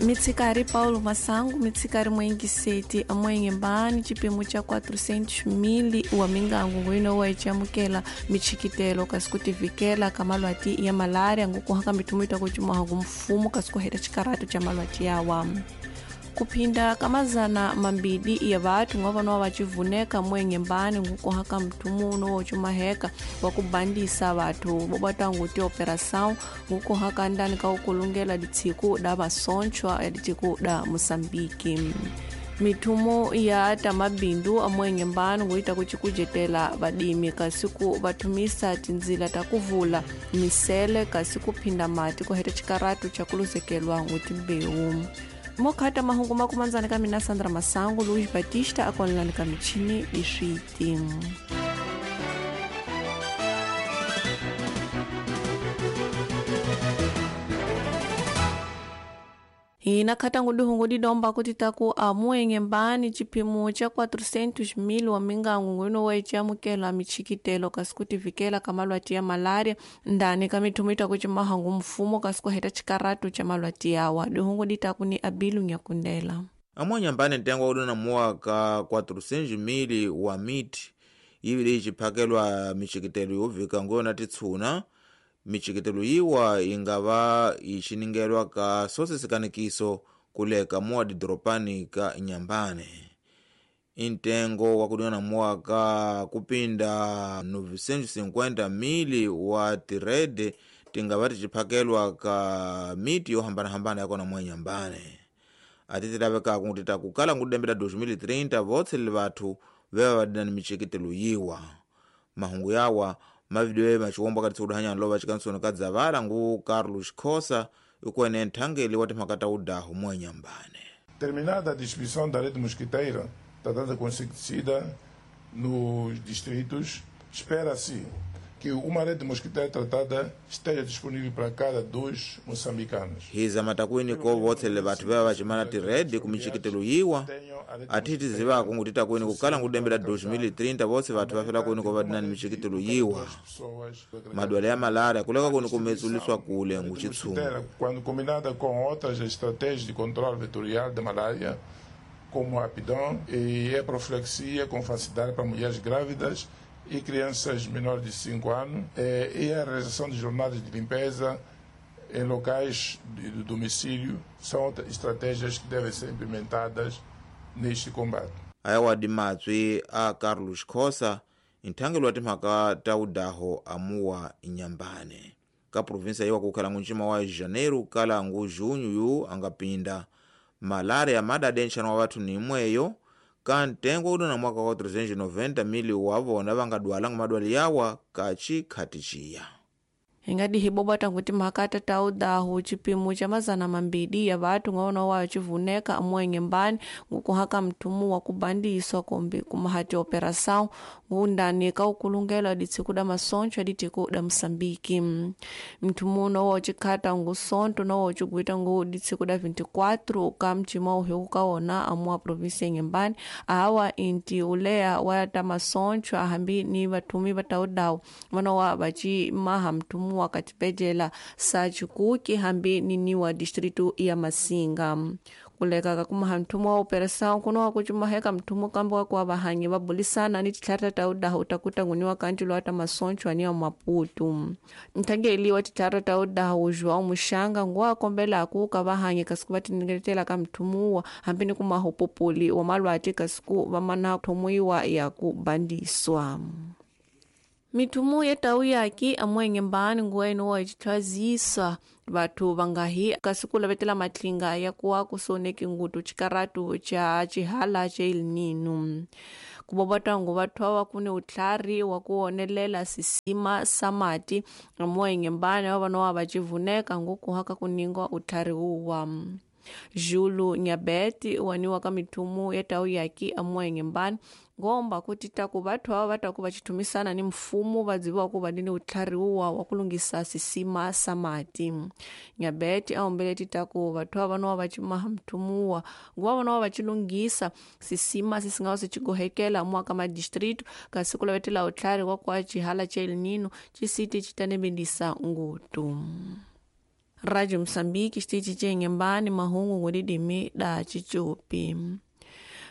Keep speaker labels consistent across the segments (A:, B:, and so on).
A: Mitsikari Paulo Masango, mitsikari mwengiseti amwenyembani chipimo cha 400,000 wa mingangu ngwino wa ichamukela michikitelo kasi kutivikela ka malwati ya malaria ngukuhaka mithumita kucumaha kumfumo kasi kuheta chikaratu cha malwati yawa. Kuphinda kamazana mambili ya vathu ngavanowa vacivuneka mwenyembani ngukuhaka mthumuno wocumaheka wa kubandisa vathu vovatangu tioperação ngukuhaka ndani ka ukulungela ditshiku da masonchwa ya ditshiku da Moçambique. Mithumo ya tamabindu amwenyembani nguita kucikujetela vadimi kasi ku vathumisa tindzila ta kuvula misele kasi kuphinda mati kuheta chikaratu cha kuluzekelwa ngutimbewu. Mokhata mahungu makumanzani ka mina Sandra Masango, Luiz Batista akonelani ka michini iswiti. Hina khatangu dihungu didomba kuti taku amuenyembani chipimo cha 400,000 wa mingangu ngwino wa ichamukela michikitelo kasi kutivikela ka malwati ya malaria ndani ka mithumo ita kucimahangu mfumo kasi kuheta chikaratu cha malwati yawa. Dihungu ditaku ni Abilu Nyakundela.
B: Amuenyembani ntengo udona muwa ka 400,000 wa miti ivili iciphakelwa michikitelo yovika nguyona titshuna. Michikitelo yiwa ingava iciningelwa ka sosesikanekiso kuleka muwa didoropani ka Inhambane. Intengo wakudina muwa ka kupinda 950,000 wa tirede tingava ticiphakelwa ka miti yohambanahambana yakona muwa Inhambane. Atitilaveka kungutita kukala ngudembela 2030 votsele vathu veva vadina michikitelo yiwa. Mahungu yawa mavidiyo machiwombo akati tsikuduhanyana lova chikansoni ka dzavala ngu Carlos Khosa ikuene nthangeli wa timhaka ta udahu muwa Inhambane.
C: Terminada a distribuição da rede mosquiteira tratada com inseticida nos distritos, espera-se que uma rede mosquiteira tratada esteja disponível para cada 2 moçambicanos.
B: Hiza matakwini ko votsele vathu veva vacimana tirede kumichikitelo yiwa athiti zivako ngutita kwini kukala ngudembela 2030 votse vathu vafela kwini ko vadinani michikitelo yiwa. Madwala ya malaria kuleka kwini kumetsuliswa kule nguchitshungu.
C: Quando combinada com outras estratégias de controle vetorial da malária, como a apidom e a profilaxia com facilidade para mulheres grávidas e crianças menores de 5 anos, e a realização de jornadas de limpeza em locais de domicílio são estratégias que devem ser implementadas neste combate.
B: Ayawa dimatswi a Carlos Khosa, nthangelo wa timhaka ta udaho amuwa Inhambane. Ka provinsia yiwa kukhala ngunjima wa janeiro kala ngu junho yu angapinda malaria madade nxano wa vathu ni imweyo ka ntengo udona mwaka wa 390,000 wavona vangadwala madwali yawa kachikhati ciya.
A: Ingadi hibobata kuti mhaka ta udahu chipimo cha mazana mambili ya vathu ng'ono wa chivuneka amwenyembani ngukuhaka mthumu wa kubandiswa kombi kumahati operação ngundani ka ukulungela ditsiku da masoncho aditiku da Moçambique. Mthumu nowo chikhata ngusonto nowo chiguita ngu ditsiku da 24 ka mchima uhiku kaona amuwa provinsia Inhambane awa inti uleya wa ta masoncho ahambi ni vathumi va ta udahu vanowa vacimaha mthumu wakatipejela sa chikuki hambi niniwa distritu ya Masinga. Kuleka kakumaha mthumu wa operação kunowa kucumaheka mthumu kambi wa kuwa vahanyi vabulisana ni titlhara ta udahu utakuta nguniwa kanti lwa ta masoncho aniwa Maputo. Nthangeli wa titlhara ta udahu João Muxanga nguwa akombelaku ka vahanyi kasi ku va tiningetela ka mthumuwa hambi ni kumaha upopuli wa malwati kasi ku va mana thumuiwa ya ku bandiswa. Mithumu ya tau yaki amwenyembani nguweno wa icithwazisa vathu vangahi kasi ku lavetela matlinga ya kuwa kusoneki ngutu chikaratu cha chihala cha El Nino. Kubobotangu vathu awa kuni utlhari wa ku onelela sisima sa mati amwenyembani wa vanowa vacivuneka ngukuhaka kuningwa utlhari wuwa. Julu Nyabeti waniwa ka mithumu ya tau yaki amwenyembani ngomba kuti taku vathu ava vataku vacithumisana ni mfumo vadziviwa ku va ni utlhari wuwa wa ku lunghisa sisima sa mati. Nyabeti a humbele titaku vathu ava nowa vacimaha mthumuwa nguva vanowa vacilunghisa sisima sisingawa sicigohekela mwaka madistrito kasi ku lavetela utlhari wa kwa cihala cha El Nino cisiti citanebendisa ngutu. Rádio Moçambique xitichi ce Inhambane mahungu ngudidimi da cicupi.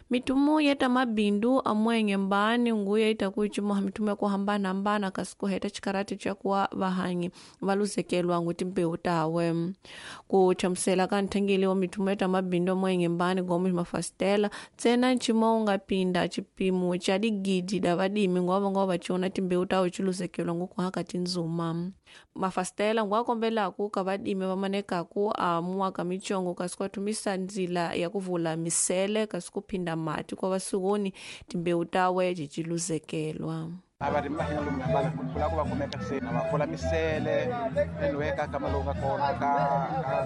A: Mitumu yeta mabindu amwe Inhambane nguya itakuicumaha mitumu yakuhambana-hambana kasi kuheta cikarati cakuwa vahanyi valuzekelwa nguti mbewu tawe. Kuchamusela ka nthengeli wa mitumu yeta mabindu amwe Inhambane Gomes Mafastela tsena ncima ungapinda cipimo ca digidi da vadimi ngwava vaciona timbewu tawe ciluzekelwa ngukuhaka tinzuma. Mafastela ngwakombelaku ka vadimi vamanekaku amuaka micongo kasi kuathumisa nzila ya kuvula misele kasi kuphinda mati kwa vasuwoni timbewu tawe ciciluzekelwa.
D: Avarimi va hina lomu hambana ku lava ku va kumeka se na va pfula misele anyway ka kama lowu nga kona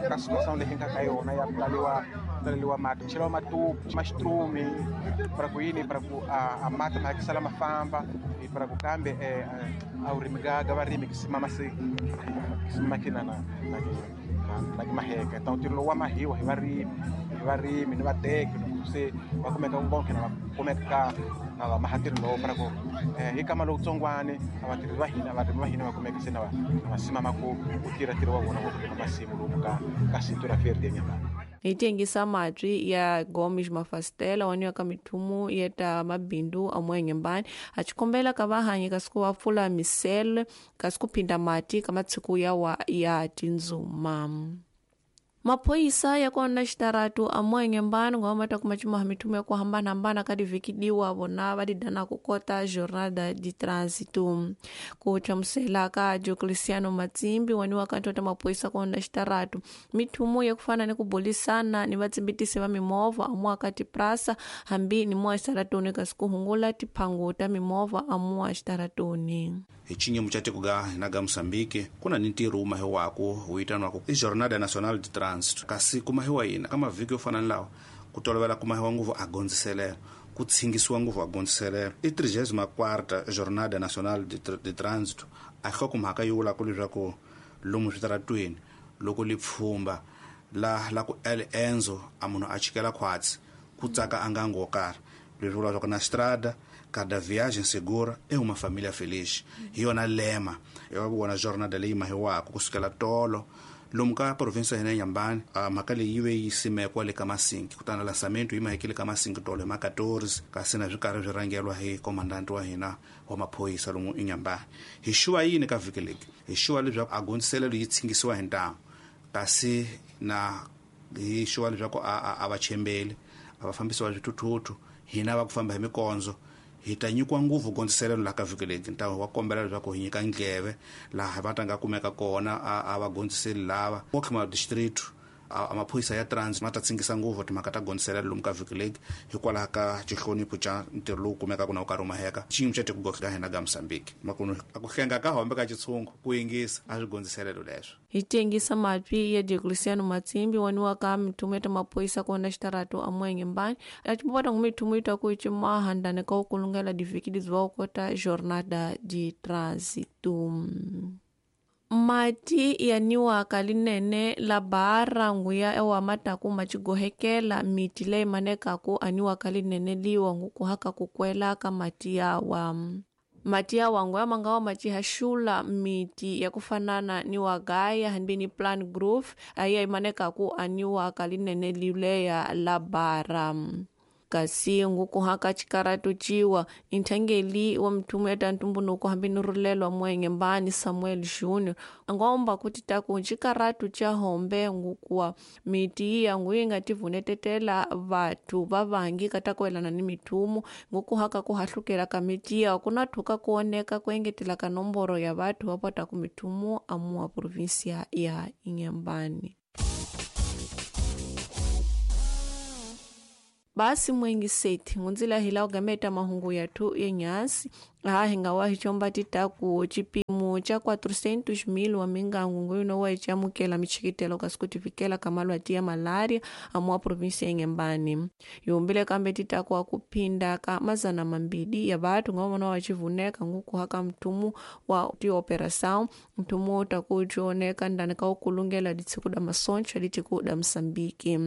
D: ka situação leyi nga ka yona ya ku taleliwa mati cheliwa matupu maxitrumi para ku yini para ku a mati ma hakisala ma famba para ku kambe a vurimi ga varimi ki simama se ki kina na na ki maheka então ntirho lowu wa mahiwa hi varimi ni vateki loko se va kumeka vonke na va kumeka na va maha ntirho lowu para ku hi kama lowutsongwani a vatirhi va hina varimi va hina va kumeka se na va simama ku tirha ntirho wa vona wa ku rima masimu lomu ka cintura verde eNyambani.
A: Hi tengisa matwi ya Gomes Mafastela waniwa ka mithumu yeta mabindu amwe Inhambane acikombela ka vahanyi kasi ku va pfula misele kasi kuphinda mati ka matshiku yawa ya tinzuma. Maphoyisa ya kona xitaratu amwe Inhambane ngwa mata kuma cimaha mithumu ya kuhambana-hambana ka divikidiwa vona va didana ku kota Jornada de Trânsito. Ku hlamusela ka Diocleciano Matsimbi waniwa ka ntota maphoyisa kona xitaratu mithumu ya kufana ni ku bulisana ni vatsimbitisi va mimovha amuwa ka tiprasa hambi ni muwa xitaratuni kasi ku hungula tiphangu ta mimovha amuwa xitaratuni.
E: Hi xinyimo xa tiko ga hina ga Mozambique ku na ni ntirho wu mahiwako wu vitaniwaka i Jornada Nacional de Trânsito kasi ku mahiwa yini ka mavhiki yo fana ni lawa ku tolovela ku mahiwa ngopfu a gondziselelo ku tshingisiwa ngopfu a gondziselelo i 34ª Jornada Nacional de Trânsito a nhlokomhaka yi vulaka leswaku lomu switaratweni loko li pfhumba la ku el enzo a munhu a chikela khwatsi ku tsaka a ngango wo karhi leswi vula leswaku na strada cada viagem segura é uma família feliz. Hi yona lema ya vona jornada leyi mahiwaka kusukela tolo lomu ka provinsi ya hina Inhambane. Mhaka leyi yi ve yi simekwa le ka Masinki kutani lançamento yi mahekile ka Masinki tolo hi ma 14 kasi na swi karhi swi rhangeriwa hi komandanti wa hina wa maphorisa lomu Inhambane. Hi xuva yini ka vhiki leki? Hi xuva leswaku a gondziselelo yi tshingisiwa hi ntamu kasi na hi xuva leswaku a va chembeli a va fambisiwa swithuthuthu hina va ku famba hi mikondzo hi ta nyikiwa ngopfu gondziselelo laha ka vhiki leti ntamu wa kombela leswaku hi nyika ndleve laha va ta nga kumeka kona a va gondziseli lava okhima district a maphorisa ya trans ma ta tsingisa ngopfu timhaka ta gondziselelo lomu ka vhiki leti hikwalaho ka xihlonipho xa ntirho lowu kumekaka na wu karhi wu maheka xiyimo xa tiko ka hina ka Mozambique makunu a ku hlenga ka hombe ka xitshungu ku yingisa a swi gondziselelo leswo.
A: Hi tengisa matwi ya Diocleciano Matsimbi waniwa ka mithumu ya maphoyisa kona xitaratu amwe Inhambane acipopata ngu mithumu ita ku cimaha ndane ka ukulungela divhiki diziwa kota Jornada de Trânsito. Mati yaniwaka linene la bara nguya ewa mataku macigohekela miti leyi manekaku aniwaka linene liwa ngukuhaka kukwela ka mati yawa. Mati yawa nguya mangawa macihaxula miti ya kufanana ni wagaya hambi ni plant growth ayiya imanekaku aniwaka linene lileya la bara. Kasi ngukuhaka cikaratu ciwa inthangeli wa mithumu ya tantumbunuko hambi ni rulelwa mwenye Samuel Junior ngomba kuti taku cikaratu ca hombe ngukuwa miti iya nguyi nga tivunetetela vathu vavangi katakuelana ni mithumu ngukuhaka kuhahlukela ka miti iya kuna thuka kuoneka kuengetela ka nomboro ya vathu va potaku mithumu amuwa provinsia ya Inhambane. Basi mwengi seti ngunzila hila ugameta mahungu yathu yenyasi aha hingawa hichomba titaku chipimo cha 400,000 wa mingangu nguyuno wa ichamukela michikitelo kasi kutivikela kamalwati ya malaria amuwa provinsi ya Inhambane. Yumbile kambe titaku akuphinda ka 200 ya vathu ngavona wachivuneka ngukuhaka mthumu wa tioperação mthumu utakuchioneka ndani ka ukulungela ditsiku da masoncho litiku da Msambiki.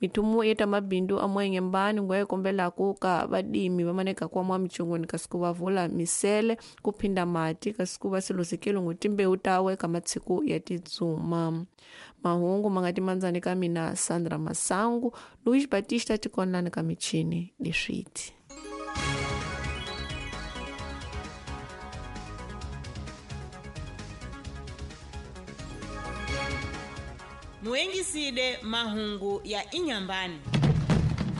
A: Mithumu yeta mabindu amwe Inhambane ngwaikombelaku ka vadimi vamaneka kwa mwa michongoni kasi ku vavula kuphinda misele, kuphinda mati kasi ku va siluzekile ngu timbewu tawe ka matshiku ya titsuma. Mahungu ma nga timandzani ka mina Sandra Masangu, Luis Batista tikonlani ka michini leswiti.
F: Muengiside mahungu ya Inyambani.